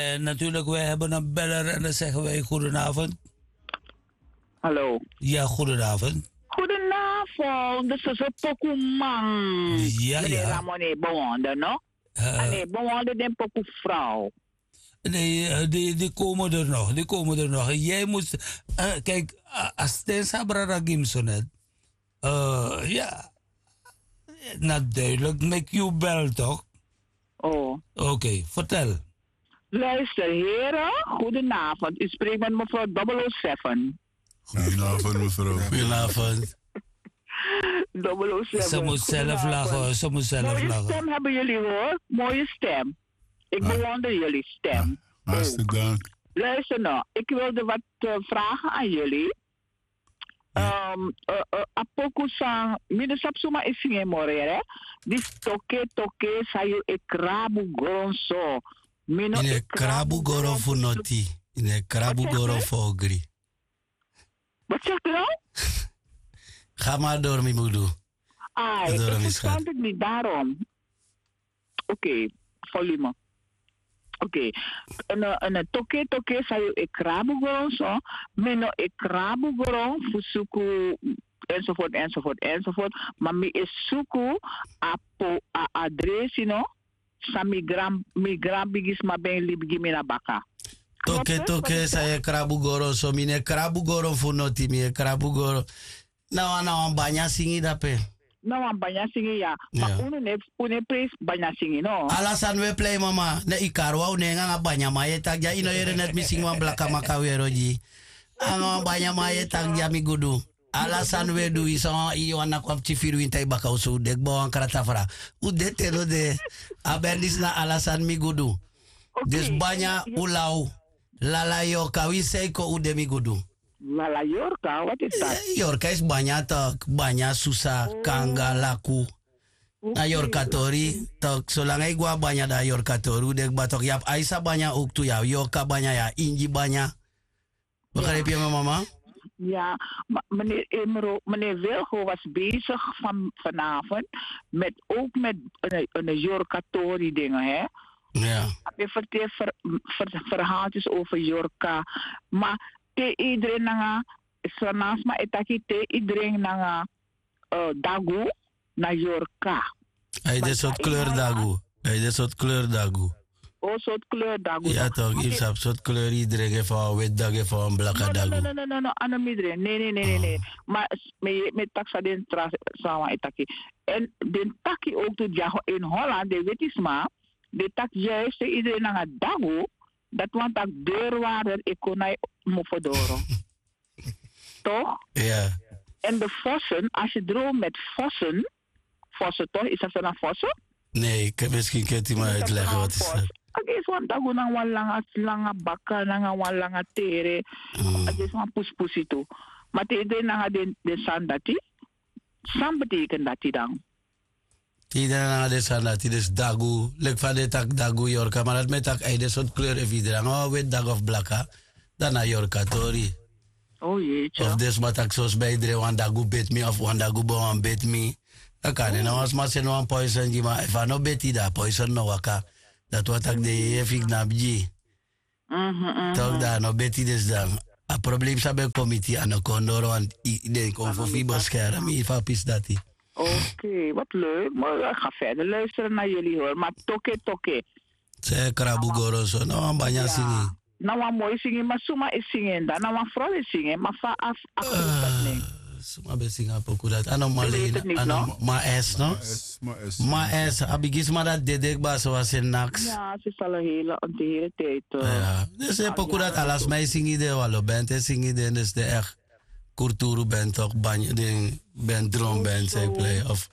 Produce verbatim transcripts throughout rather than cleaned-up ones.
En natuurlik wi heben en beller en dan segen wi goedenavond. Hallo. Ya goedenavond. Goedenavond, de soso poku man. Ya ya. Ramon e bewonder no? Ane bewonder den poku vrouw. Nee, die komen er nog, die komen er nog. Jij moet, kijk, als ten sabra ragim sonet. Ja, na duidelijk make you bel toch? Oh. Oké, vertel. Luister heren, goedenavond, u spreekt met mevrouw double o seven. Goedenavond mevrouw. Goedenavond. Double o seven. Ze moet zelf lachen, ze moet zelf lachen. Mooie stem hebben jullie hoor, mooie stem. Ik bewonder jullie stem. Hartstikke dank. Luister nou, ik wilde wat vragen aan jullie. Apoku san mi no sabi suma e singi en moro yere. Disi toke toke san yu e krabu gron so. Mi no e krabu goro fu noti. Mi no e krabu goro fu ogri. Wat zegt u nou? Ga maar door mi mudu. Ai, ik verstand het niet daarom. Oké, volume. Oké. Een toke toke san yu e krabu gron so. Mi no e krabu gron fu suku enzovoort enzovoort enzovoort. Ma mi e suku a po a adresi no. San mi gran mi gran bigisma ben libi gi mi na baka. Toke toke san yu e krabu goro so mi no e krabu goro fu noti mi e krabu goro. Na wan na wan banya singi dape. Na wan banya singi ya. Ma unu ne unu e presi banya singi no. Ala sani we plei mama na yu kari wan unu e nanga banya man yu e taki dya yu no yere neti mi singi wan blaka maka wero gi yu. Anga wan banya man yu e taki dya mi gudu. Ala sani we du yu san wan yu wan naki wan pikin firi winta yu baka un so un de kba wan krata fra. Un de te no de. A ben disi na ala sani mi gudu. Disi banya un law. Lala yorka wi san yu kon un de mi gudu. Lala yorka wati yu taki? Yorka isi banya tok banya susa kanga laku. Na yorka tori tok solanga yu go a banya dan a yorka tori un de kba tok yu abi aisa banya owktu yu abi yorka banya yu abi ingi banya. Begrijpi yu mi mama? Ya, maar meneer Imro, meneer Wilgo was bezig van, vanavond met ook met een, een Yorka-tori dingen, hè? Ja. Hij vertelt ver, ver, verhaaltjes over Yorka. Maar te iedereen nanga, Sranasma etaki te iedereen nanga uh, dagu na Yorka. Ai de sort kleur dagu. Ai de sort kleur dagu. O sort kleur dagu. Ya toch, yu sabi sort kleur yu dringi fu wan weti dagu fu wan blaka dagu. No no no no no no a no mi dringi ne ne ne ne ne. Ma mi e taki san den tra san wan e taki. Èn den taki owktu dyago in Holland den weti sma den taki juist te yu dringi nanga dagu, dati wani tak' deurwaarder e kon na yu mofo doro. Toch? En de vossen, als je droomt met vossen, vossen toch, is dat na vossen? Nee, ik heb misschien kent u maar uitleggen wat is dat. A gesi wan dagu nanga wan langa langa baka nanga wan langa tere. A gesi wan puspusi tu. Ma te yu de nanga den sani dati, san betekent dati dan? Te yu de nanga den sani dati dus dagu leki fa den taki dagu yorka ma dati mi e taki ai den sortu kleur efu yu de nanga wan weti dagu of blaka, dan na yorka tori. Of den sma taki sosi ben yu dringi wan dagu beti mi of wan dagu bon wan beti mi. Dan kan den na wan sma seni wan poison gi ma efu a no beti dan a poison no waka. Dati wan taki den yeye fu yu knapu gi yu. Tok dan a no beti desi dan a problem san ben kon miti a no kon doro wantu den kon fu fu yu beskermi yu fu a pisi dati. Oke wat leuk. Moro ga ferder luisteren na yuli hori ma toke toke. San yu e krabu goro so na wan banya singi? Na wan moi singi ma suma e singi en dan na wan frow e singi en ma fa a a krupu dati nen? Suma ben singi a poku dati a no male ini a no ma es no. Ma es a bigi sma dati dede kba so a seni naks. Sisa lo hele onti hele tiyiti. Den se poku dati ala sma e singi den wan lo bent e singi den dus den ekti kurturu bent tok banya den bent dron bent san e plei of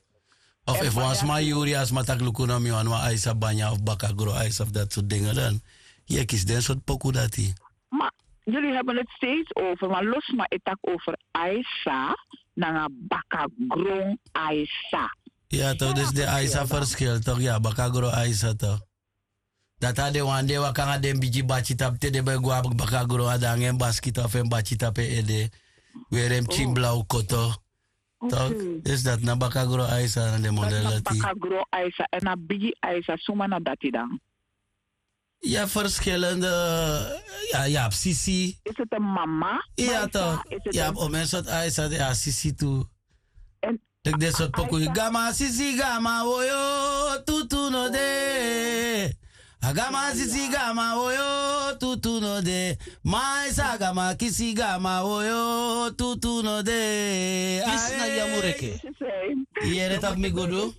efu wan sma yuri a sma taki luku no mi wani wan aisa banya of baka gro aisa of dati sortu dinge dan yu e kisi den sortu poku dati. Ma yuli heben eti steeds over ma lo sma e taki over aisa nanga baka gron aisa. Ya tok disi den aisa ferskil tok ya baka gro aisa tok. Dati a den wan di e waka nanga den bigi bati tapu te den ben go abi baka gron a de nanga en baskiti of en bati tapu en ede. Weri en pikin blaw koto. Tok disi dati na baka gron aisa na den model dati. Baka gron aisa èn a bigi aisa suma na dati dan? Ya verschillende. Ya ya abi sisi. Is het een mama? Ya toch. Ya abi omen sort aisa de ya sisi tu. Leki den sort poku yu gama sisi gama woyo tutu no de. A gama sisi gama woyo tutu no de. Ma esa gama kisi gama woyo tutu no de. Misna yamureke. Yere tak mi gudu.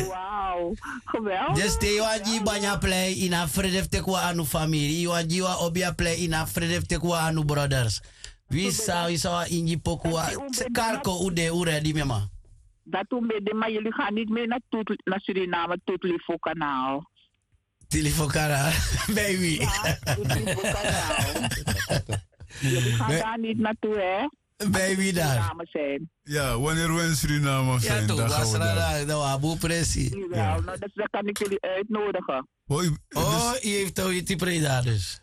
Wow. Geweldig. Desi te yu wan gi banya plei ini a frede fu teki wan anu famiri yu wan gi wan obi a plei ini a frede fu teki wan anu broders. Wi san wi san wan ingi poku wan karko un de un redi mi man. Dati un ben de ma yuli gan niti mei na tutli na suriname tutli fu kanaal. Tilifo kanaal. Bij wi. Yuli gan dan niti na tu hè. Bij wi dan. Ya wanneer we in suriname zijn dan gaan we daar. Dan we abu presi. Jawel no dus dan kan ik jullie uitnodigen. Oh yu heeft al iti prei daar dus.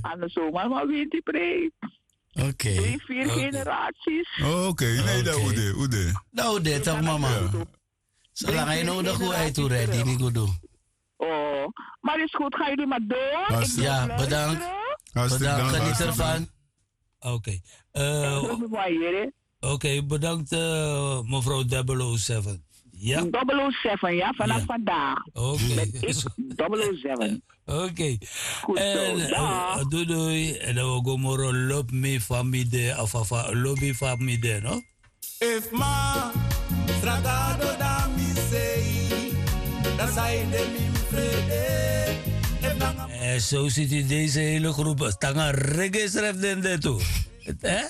Ano somar man winti prei. Oké. Drie vier generaties. Oké nee dan ude ude. Dan ude toch mama. Solanga yu no ude go uit ude di mi go du. Oh, maar is goed ga yu di maar door. Ja bedankt. Bedankt geniet ervan. Oké. Oké, bedankt mevrouw double o seven. Ja. Double o seven ja vanaf vandaag. Oké. Double o seven. Oké. En doei doei en dan we go moro lobi mi famide of afa lobi famide no. Efu ma sragado dan mi sei dan sai de mi frede. Efu nanga. So siti deze hele groep tanga reggae sref den de tu. Eh?